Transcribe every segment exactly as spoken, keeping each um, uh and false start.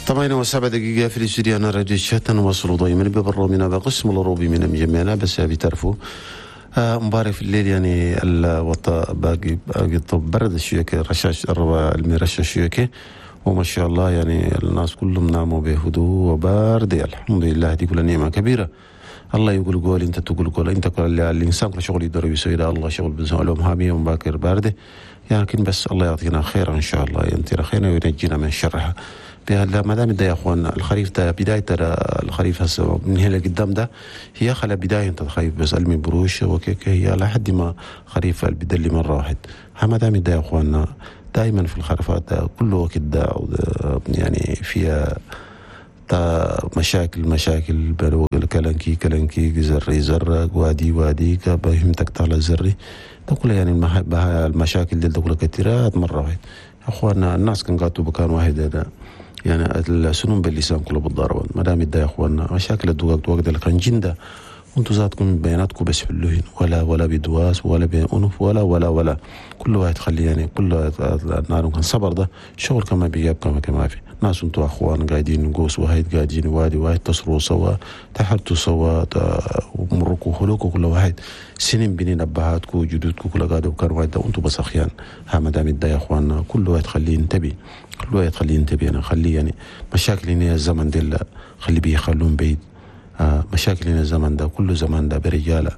ثمانية وسبع دقيقة في الاستوديو أنا راديو الشتن نواصلوا دائما ببرنامجنا بقسم الأوروبي من جميعنا بس بتعرفوا امبارح في الليل يعني الوطا باقي باقي طب برد شوية رشاش المرشش شوية، وما شاء الله يعني الناس كلهم ناموا بهدوء وبارد، الحمد لله دي كلها نعمة كبيرة. الله يقول قول انت تقول قول انت كل الانسان كل شغل يقدر يسوي ده الله شغل بنسوي لهم هامية ومباكر باردة، لكن بس الله يعطينا خير ان شاء الله، ينطينا خير وينجينا من شرها. ما دام ده يا اخوان الخريف ده بداية الخريف هسه من هنا لقدام ده هي خلا بداية الخريف بس المي بروش وكيك هي لحد ما خريف البدل مرة واحد. ما دام ده يا اخواننا دائما في الخرفات ده كل وقت ده يعني فيها مشاكل مشاكل كلنكي كلنكي زري زرق وادي وادي بهمتك طالع زري ده كله يعني المشاكل دي كلها كثيرات مرة واحد. يا اخواننا الناس كان قاتوا بكان واحد ده يعني السنون باللسان كله بالضربان. ما دام يا اخواننا مشاكل الدقاق وقت اللي كان جنده وانتوا ذاتكم بياناتكم بس حلوهن ولا ولا بدواس ولا بأنف ولا ولا ولا كل واحد خلي يعني كل النار كان صبر ده شغل كما بيجاب كما كما في ناس انتوا اخوان قاعدين قوس واحد قاعدين وادي واحد تصروا سوا تحرتوا سوا ومركوا خلوكوا كل واحد سنين بنين ابهاتكم وجدودكم كل قاعدوا كان واحد وانتوا بس اخيان. ها ما دام يا اخواننا كل واحد خليه ينتبه كل واحد خليه ينتبه انا خليه يعني مشاكل هنا الزمن دي خلي بيه يخلون بعيد. آه مشاكل هنا الزمن ده كل زمان ده برجالة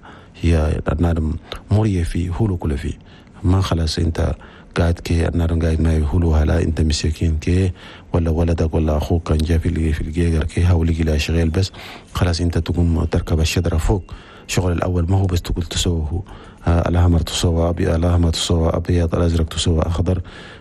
هي النار مريه فيه هولو كل فيه ما خلاص انت قاعد كي النار قاعد ما يهولو هلا انت مسكين كي ولا ولدك ولا اخوك كان جا في في الجيجر كي هاولي لا شغال بس خلاص انت تقوم تركب الشجرة فوق. شغل الاول ما هو بس تقول تسوه آه الاحمر تسوى ابيض الاحمر تسوى ابيض الازرق تسوى اخضر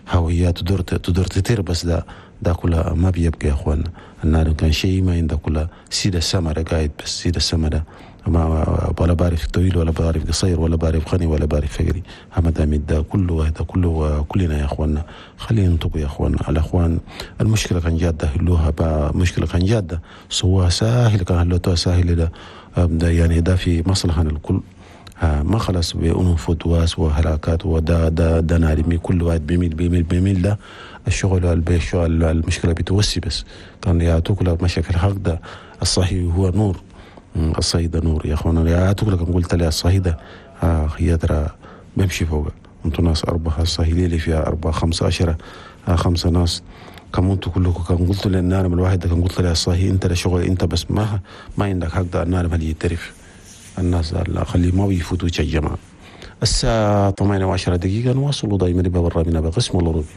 هويات تدور تدور تطير بس ده ده كلها ما بيبقى يا اخوانا. النار كان شيء ما عندك كلها سيد السما قاعد بس سيد السما ده ما ولا بعرف طويل ولا بعرف قصير ولا بعرف غني ولا بعرف فقري. ما دام ده كله هذا كله كلنا يا اخوانا خلينا ننطق يا اخوانا. الاخوان المشكلة كان جاده حلوها مشكلة كان جاده سواها ساهل كان حلوتها ساهل ده ده يعني ده في مصلحة للكل. ما خلاص بأنف ودواس وهلاكات ودا دا دا نارمي كل واحد بيميل بيميل بيميل ده الشغل الشغل المشكلة بتوسي بس كان يعطوك لك مشاكل حق ده الصحي هو نور الصحي ده نور يا اخوانا يعطوك لك قلت لي الصحي ده آه هي ترى بمشي فوق انتوا ناس أربعة الصحي اللي فيها أربعة خمسة عشرة آه خمسة ناس كم انتوا كلكم كان قلت للنار الواحد ده كان قلت لي الصحي انت لا شغل انت بس ما ما عندك حق ده النار هل يترف الناس خلي ما بيفوتوا الجماعة. الساعة ثمانية وعشرة دقيقة نواصلوا دائما ببرنامجنا بقسم الأوروبي.